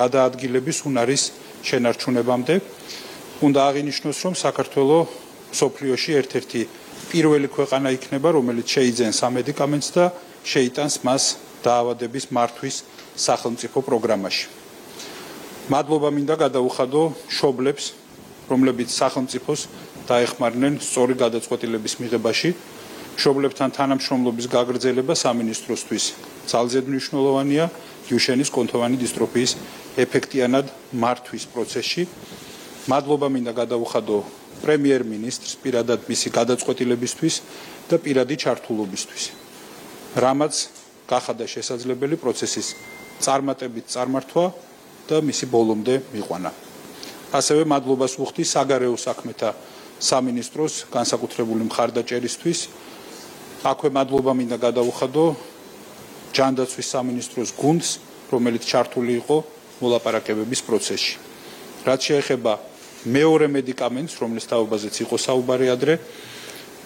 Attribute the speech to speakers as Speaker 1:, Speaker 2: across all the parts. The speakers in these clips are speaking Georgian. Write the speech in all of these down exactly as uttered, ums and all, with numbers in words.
Speaker 1: გადაადგილების უნარის შენარჩუნებამდე. უნდა აღინიშნოს, რომ საქართველოს მსოფლიოში ერთ-ერთი პირველი ქვეყანა იქნება, რომელიც შეიძენს ამედიკამენტს და შეიტანს მას დაავადების მართვის სახელმწიფო პროგრამაში. მადლობა მინდა გადაუხადო მშობლებს, რომლებიც სახელმწიფოს დაეხმარნენ სწორი გადაწყვეტილების მიღებაში. მშობლებთან თანამშრომლობის გაგრძელება სამინისტროსთვის ძალზედ მნიშვნელოვანია დიუშენის კუნთოვანი დისტროფიის ეფექტიანად მართვის პროცესში. მადლობა მინდა გადაუხადო პრემიერ-მინისტრს პირადად მისი გადაწყვეტილებისთვის და პირადი ჩართულობისთვის, რამაც გახადა შესაძლებელი პროცესის წარმატებით წარმართვა და მისი ბოლომდე მიყვანა. ასევე მადლობას ვუხდი საგარეო საქმეთა სამინისტროს განსაკუთრებული მხარდაჭერისთვის. აქვე მადლობა მინდა გადაუხადო ჯანდაცვის სამინისტროს გუნდს, რომელიც ჩართული იყო მოლაპარაკებების პროცესში. რაც შეეხება მეორე მედიკამენტს, რომლის თაობაზეც იყო საუბარი ადრე,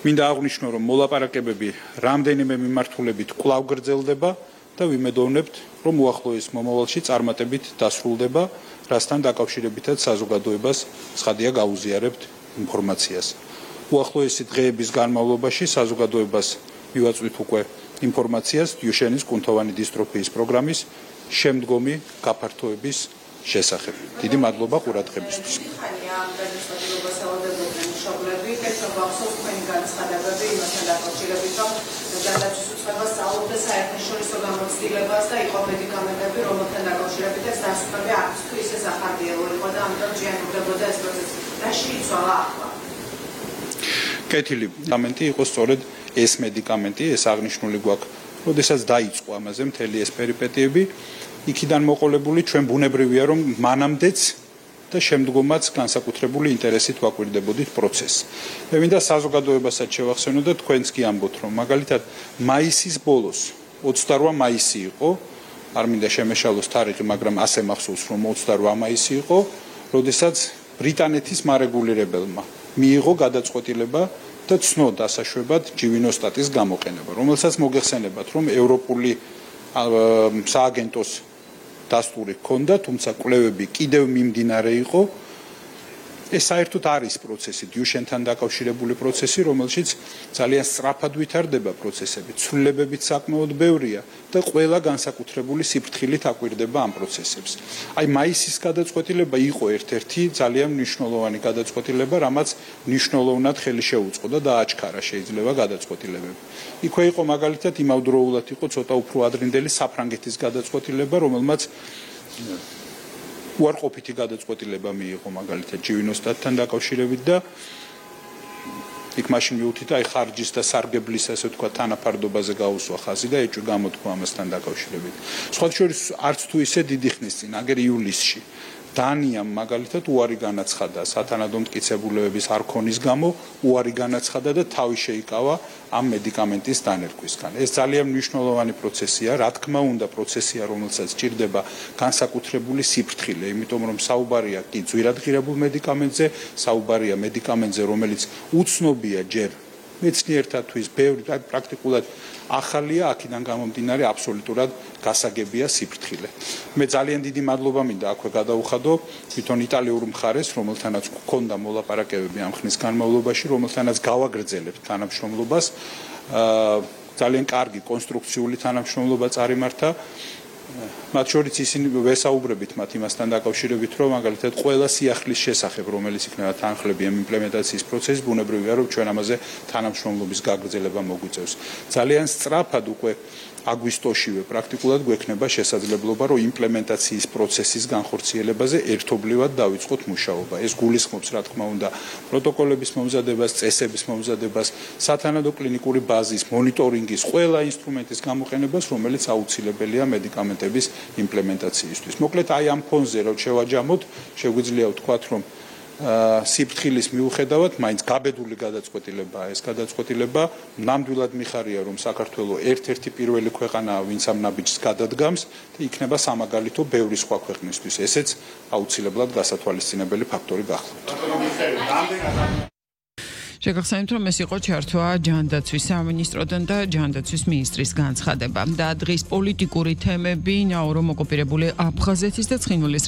Speaker 1: მინდა აღვნიშნო, რომ მოლაპარაკებები რამდენიმე მიმართულებით კვლავ გრძელდება და ვიმედოვნებთ, რომ უახლოეს მომავალში წარმატებით დასრულდება, რასთან დაკავშირებითაც საზოგადოებას ცხადია გაუზიარებთ ინფორმაციას. უახლოესი დღეების განმავლობაში საზოგადოებას მივაწვით უკვე ინფორმაციას დიუშენის კუნთოვანი დისტროფიის პროგრამის შემდგომი გაფართოების შესახებ. დიდი მადლობა ყურადღებისთვის.
Speaker 2: ჯანდაცვის უწყებას სწავლობდა საერთაშორისო გამოცდილებას და იყო მედიკამენტები, რომელთან დაკავშირებითაც დასკვნები აქვს თუ ისე სახარბიელო იყო და ამიტომ ჯიანუბრებოდა ეს პროცესი. რაში იცვალა ახლა?
Speaker 1: კეთილი მედიკამენტი იყო სწორედ ეს მედიკამენტი, ეს აღნიშნული გვაქვს, როდესაც დაიწყო ამაზე მთელი ეს პერიპეტიები, იქიდან მოყოლებული ჩვენ ბუნებრივია, რომ მანამდეც და შემდგომაც განსაკუთრებული ინტერესით ვაკვირდებოდით პროცესს. მე მინდა საზოგადოებასაც შევახსენო და თქვენც კი ამბობთ, რომ მაგალითად მაისის ბოლოს, ოცდარვა მაისი იყო, არ მინდა შემეშალოს თარიღი, მაგრამ ასე მახსოვს, რომ ოცდარვა მაისი იყო, როდესაც ბრიტანეთის მარეგულირებელმა მიიღო გადაწყვეტილება და ცნო დასაშვებად ჯივინოსტატის გამოყენება, რომელსაც მოგეხსენებათ, რომ ევროპული სააგენტოს დასტური ჰქონდა, თუმცა კვლევები კიდევ მიმდინარე იყო. ეს საერთოდ არის პროცესი, დიუშენთან დაკავშირებული პროცესი, რომელშიც ძალიან სწრაფად ვითარდება პროცესები, ცვლილებებიც საკმაოდ ბევრია და ყველა განსაკუთრებული სიფრთხილით აკვირდება ამ პროცესებს. აი მაისის გადაწყვეტილება იყო ერთ-ერთი ძალიან მნიშვნელოვანი გადაწყვეტილება, რამაც მნიშვნელოვნად ხელი შეუწყო და დააჩქარა შეიძლება გადაწყვეტილებები. იქვე იყო მაგალითად იმავდროულად იყო ცოტა უფრო ადრინდელი საფრანგეთის გადაწყვეტილება, რომელმაც უარყოფითი გადაწყვეტილება მიიღო მაგალითად ჯივინოსტატთან დაკავშირებით და იქ მაშინ მივუთით აი ხარჯის და სარგებლის ასე თქვა თანაფარდობაზე გაუსვა ხაზი და ეჭვი გამოთქვა ამასთან დაკავშირებით. სხვა შორის არც თუ ისე დიდი ხნის წინ, აგერ ივლისში დანიამ მაგალითად უარი განაცხადა სათანადო მტკიცებულებების არ ქონის გამო, უარი განაცხადა და თავი შეიკავა ამ მედიკამენტის დანერგვისგან. ეს ძალიან მნიშვნელოვანი პროცესია, რა თქმა უნდა პროცესია, რომელსაც სჭირდება განსაკუთრებული სიფრთხილე, იმიტომ რომ საუბარია კი ძვირადღირებულ მედიკამენტზე, საუბარია მედიკამენტზე, რომელიც უცნობია ჯერ მეცნიერთათვის, ბევრი პრაქტიკულად ახალია, აქედან გამომდინარე აბსოლუტურად გასაგებია სიფრთხილე. მე ძალიან დიდი მადლობა მინდა აქვე გადაუხადო თვითონ იტალიურ მხარეს, რომელთანაც გქონდა მოლაპარაკებები ამ ხნის განმავლობაში, რომელთანაც გავაგრძელებთ თანამშრომლობას. ძალიან კარგი კონსტრუქციული თანამშრომლობა წარიმართა. მათ შორის ისინი ვესაუბრებით მათ იმასთან დაკავშირებით, რომ მაგალითად ყველა სიახლის შესახებ, რომელიც იქნება თანხლები ამ იმპლემენტაციის პროცესის, ბუნებრივია, რომ ჩვენ ამაზე თანამშრომლობის გაგრძელება მოგვიწევს. ძალიან სწრაფად უკვე აგვისტოშივე პრაქტიკულად გვექნება შესაძლებლობა, რომ იმპლემენტაციის პროცესის განხორციელებაზე ერთობლივად დავიწყოთ მუშაობა. ეს გულისხმობს, რა თქმა უნდა, პროტოკოლების მომზადებას, წესების მომზადებას, სათანადო კლინიკური ბაზის, მონიტორინგის, ყველა ინსტრუმენტის გამოყენებას, რომელიც აუცილებელია მედიკამენტების იმპლემენტაციისთვის. მოკლედ, აი ამ ფონზე რომ შევაჯამოთ, შეგვიძლია ვთქვათ, რომ სიფრთხილის მიუხედავად, მაინც გაბედული გადაწყვეტილებაა ეს გადაწყვეტილება. ნამდვილად მიხარია, რომ საქართველოს ერთ-ერთი პირველი ქვეყანაა, ვინც ამ ნაბიჯს გადადგამს და იქნება სამაგალითო ბევრი სხვა ქვეყნისთვის. ესეც აუცილებლად გასათვალისწინებელი ფაქტორი გახლავთ.
Speaker 3: შეგახსენებთ, რომ ეს იყო ჩართვა ჯანდაცვის სამინისტროდან და ჯანდაცვის მინისტრის განცხადება. და დღის პოლიტიკური თემები, ნაურო მოკოპირებული აფხაზეთის და ცხინვალის